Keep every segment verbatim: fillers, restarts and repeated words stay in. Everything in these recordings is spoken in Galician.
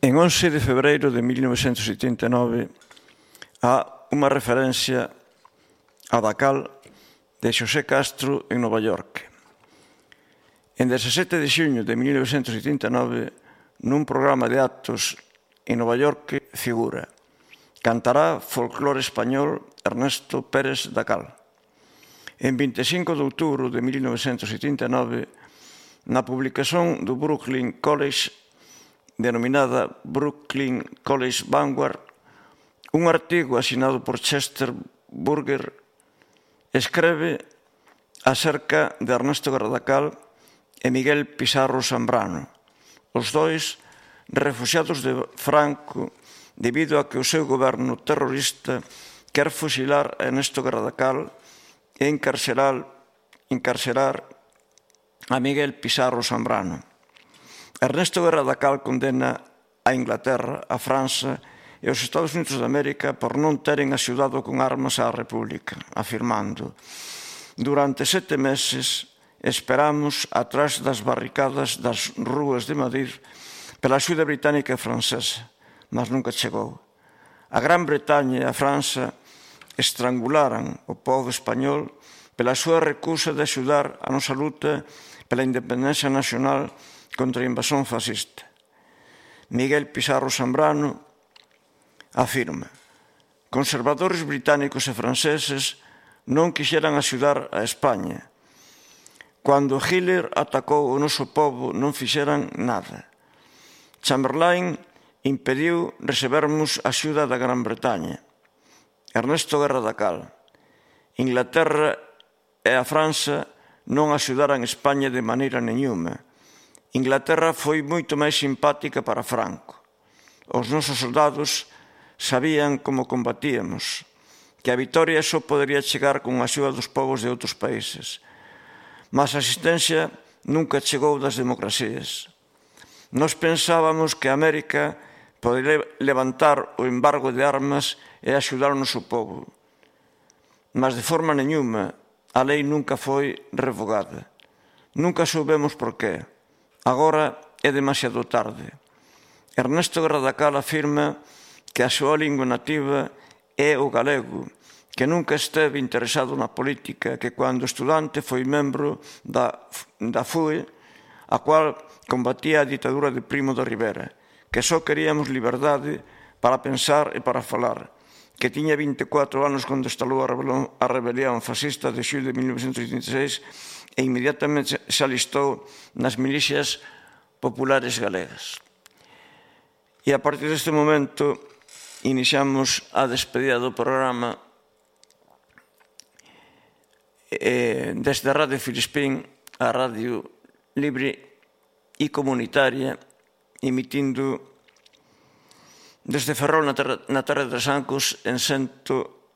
En once de febreiro de mil novecentos setenta e nove há unha referencia a Dacal de Xosé Castro en Nova York. En dezasete de xuño de mil novecentos setenta e nove, nun programa de actos en Nova York, figura: cantará folclore español Ernesto Pérez Dacal. En vinte e cinco de outubro de mil novecentos setenta e nove, na publicación do Brooklyn College, denominada Brooklyn College Vanguard, un artigo asinado por Chester Burger escreve acerca de Ernesto Dacal e Miguel Pizarro Zambrano, os dois refuxiados de Franco debido a que o seu goberno terrorista quer fusilar a Ernesto Dacal e encarcerar, encarcerar a Miguel Pizarro Zambrano. Ernesto Dacal condena a Inglaterra, a França e os Estados Unidos de América por non teren axudado con armas á República, afirmando: durante sete meses esperamos atrás das barricadas das rúas de Madrid pela axuda británica e francesa, mas nunca chegou. A Gran Bretaña e a França estrangularan o povo español pela súa recusa de axudar a nosa luta pela independencia nacional contra a invasión fascista. Miguel Pizarro Zambrano afirma: conservadores británicos e franceses non quixeran axudar a España. Cando Hitler atacou o noso povo non fixeran nada. Chamberlain impediu recebermos axuda da Gran Bretaña. Ernesto Dacal: Inglaterra e a França non axudaran a España de maneira nenhuma. Inglaterra foi moito máis simpática para Franco. Os nosos soldados sabían como combatíamos, que a vitoria só podería chegar con a axuda dos povos de outros países. Mas a asistencia nunca chegou das democracias. Nós pensábamos que a América podería levantar o embargo de armas e axudar o noso povo. Mas de forma nenhuma a lei nunca foi revogada. Nunca soubemos por qué. Agora é demasiado tarde. Ernesto Dacal afirma que a súa lingua nativa é o galego, que nunca esteve interesado na política, que cando estudante foi membro da, da F U E, a cual combatía a ditadura de Primo de Rivera, que só queríamos liberdade para pensar e para falar, que tiña vinte e catro anos cando estalou a rebelión, a rebelión fascista de xullo de mil novecentos oitenta e seis e inmediatamente se alistou nas milicias populares galegas. E a partir deste momento iniciamos a despedida do programa eh, desde a Radio Filispín, a radio libre e comunitaria, emitindo desde Ferrol na terra, na terra de Trasancos en cento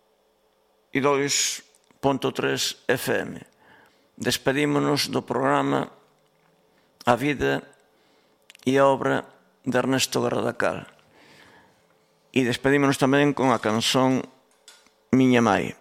e dous punto tres F M. Despedímonos do programa A vida e a obra de Ernesto Dacal. E despedímonos tamén con a canción Miña Mai.